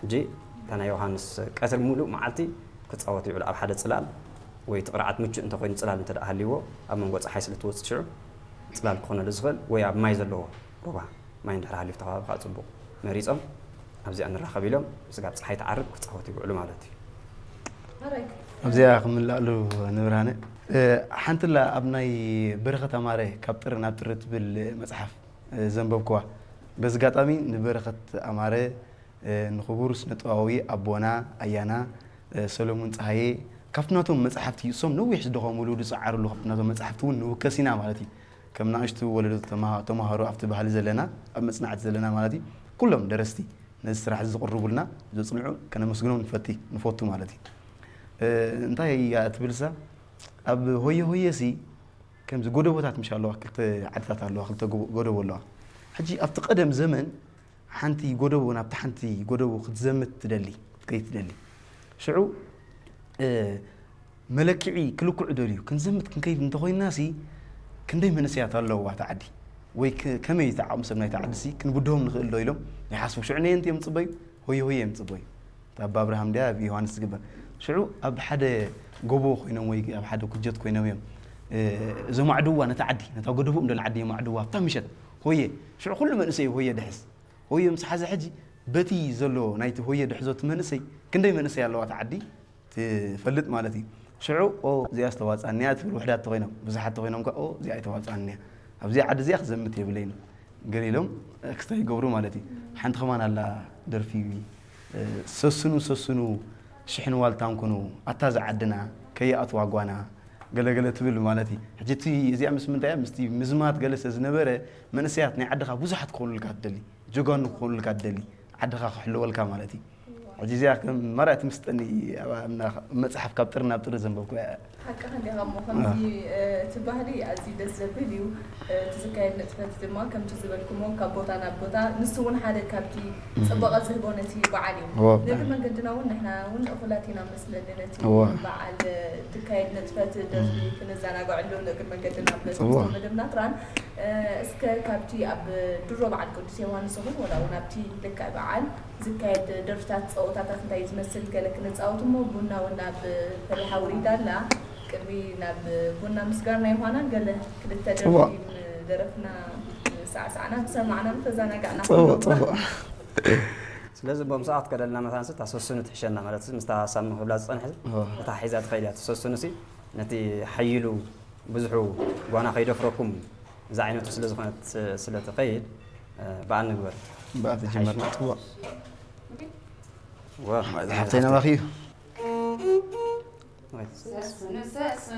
ሕጂ እታ ናይ ዮሃንስ ቀትሪ ሙሉእ መዓልቲ ክጻወት ይውዕል ኣብ ሓደ ጽላል፣ ወይ እቲ ቅርዓት ምቹእ እንተኾይኑ፣ ጽላል እንተ ደኣ ሃልይዎ፣ ኣብ መንጎ ጸሓይ ስለ እትወጽእ ሽዑ ጽላል ክኾነሉ ዝኽእል፣ ወይ ኣብ ማይ ዘለዎ ሩባ፣ ማይ እንድሕር ሃልዩ ኣብቲ ከባቢ ከዓ ጽቡቕ መሪጾም ኣብዚኣ ንራኸብ ኢሎም ስጋብ ጸሓይ ትዓርብ ክጻወቱ ይውዕሉ ማለት እዩ። ኣብዚኣ ክምልኣሉ ንብርሃነ። ሓንትላ ኣብ ናይ በረኸት ኣማረ ካብ ጥሪ ናብ ጥሪ ትብል መጽሓፍ ዘንበብክዋ። በዚ ኣጋጣሚ ንበረኸት ኣማረ፣ ንኽቡር ስነጥበባዊ ኣቦና ኣያና ሰሎሙን ጸሃየ ካብቲ ናቶም መጽሓፍቲ፣ እሶም ነዊሕ ዝደኸሙሉ ዝጸዓሩሉ ካብቲ ናቶም መጽሓፍቲ እውን ንውከስ ኢና ማለት እዩ። ከም ንኣሽቱ ወለዶ ተማሃ- ተማሃሮ ኣብቲ ባህሊ ዘለና፣ ኣብ መጽናዕቲ ዘለና ማለት እዩ። ኩሎም ደረስቲ ነዚ ስራሕ እዚ ዝቕርቡልና ዘጽንዑ ከነመስግኖም ንፈቲ ንፈቱ ማለት እዩ። እንታይ እያ ትብልሳ ኣብ ሆየ ሆየ ሲ ከምዚ ጎደቦታት ምሽ ኣለዋ፣ ክልተ ዓድታት ኣለዋ፣ ክልተ ጎ- ጎደቦ ኣለዋ። ሕጂ ኣብቲ ቀደም ዘመን ሓንቲ ጎደቦ ናብቲ ሓንቲ ጎደቦ ክትዘምት ትደሊ ክትከይድ ትደሊ። ሽዑ መለክዒ ክልክዑ ደልዩ ክንዘምት ክንከይድ እንተኾይንና ሲ ክንደይ መንእሰያት ኣለዋ እታ ዓዲ፣ ወይ ከመይ እቲ ዓቕሚ ሰብ ናይቲ ዓዲ ሲ ክንብድሆም ንኽእል ዶ ኢሎም ይሓስቡ። ሽዑ ነየንቲ እዮም ዝፅበዩ? ሆየ ሆየ እዮም ዝፅበዩ። እታ ኣብ ኣብርሃም ድያ ኣብ ዮሃንስ ዝግበር? ሽዑ ኣብ ሓደ ጎቦ ኮይኖም ወይ ኣብ ሓደ ኩጀት ኮይኖም እዮም ዘማዕድዋ ነታ ዓዲ፣ ነታ ጎደቦኦም ደላ ዓዲ የማዕድዋ ኣብታ ምሸት ሆየ። ሽዑ ኩሉ መንእሰይ ሆየ ድሕስ ሆየ ምስ ሓዘ ሕጂ በቲ ዘሎ ናይቲ ሆየ ድሕዞ እቲ መንእሰይ ክንደይ መንእሰይ ኣለዋ እታ ዓዲ ትፈልጥ ማለት እዩ። ሽዑ ኦ እዚኣ ዝተዋፅኣኒ እያ ትብል ውሕዳት ተኮይኖም፣ ብዙሓት ተኮይኖም ከ ኦ እዚኣ ኣይተዋፅኣኒ እያ፣ ኣብዚኣ ዓዲ እዚኣ ክዘምት የብለይን ገለ ኢሎም ክስታይ ይገብሩ ማለት እዩ። ሓንቲ ከማን ኣላ ደርፊ ሰስኑ ሰስኑ ሽሕን ዋልታን ኩኑ ኣታ ዝዓድና ከይኣትዋ ጓና ገለገለ ትብል ማለት እዩ። ሕጂ እቲ እዚኣ ምስ ምንታይ እያ ምስቲ ምዝማት ገለ ስለ ዝነበረ መንእሰያት ናይ ዓድኻ ብዙሓት ክኾኑልካ ትደሊ፣ ጀጋኑ ክኾኑልካ ትደሊ፣ ዓድኻ ክሕልወልካ ማለት እዩ። ሕጂ እዚኣ ከም ማርያ ትምስጠኒ መፅሓፍ ካብ ጥሪ ናብ ጥሪ ዘንበብኩ ሓቅኻ እንዲኻ እሞ ከምዚ እቲ ባህሊ ኣዝዩ ደስ ዘብል እዩ። እቲ ዝካየድ ንጥፈት ድማ ከምቲ ዝበልኩሞ ካብ ቦታ ናብ ቦታ ንሱ እውን ሓደ ካብቲ ፅባቐ ዝህቦ ነቲ በዓል እዩ። ነቲ መንገድና እውን ንሕና እውን እኹላት ኢና መስለኒ ነቲ በዓል ትካየድ ንጥፈት ደርፊ ክንዘናግዐሉ ንእግር መንገድና ኣብ ገጽ መደብና ትራን እስከ ካብቲ ኣብ ድሮ በዓል ቅዱስ ዮሃንስ ይኹን ወላ እውን ኣብቲ ልክዕ በዓል ዝካየድ ደርፍታት ፀወታታት እንታይ ዝመስል ገለ ክነፃወት እሞ ቡና እውን ኣብ ፈሊሓ ውሪዳ ኣላ። ቅድሚ ናብ ቡና ምስጋርና ዮሃና ገለ ክልተ ደርፊ ደረፍና ሳዕሳዕና ተሰማዕና ተዛናጋዕና ስለዚ ቦም ሰዓት ከደልና መታንስ ታሰስኑ ትሕሸና ማለት ምስታ ሳሚ ክብላ ዝፀንሐ እታ ሒዛ ትኸይድ እያ ትሰስኑ ሲ ነቲ ሓይሉ ብዙሑ ጓና ከይደፍረኩም እዛ ዓይነቱ ስለ ዝኾነት ስለ ትኸይድ ብኣ ንግበር ብኣ ተጀመርና ፅቡቅ ሓብተይ ናባኺ እዩ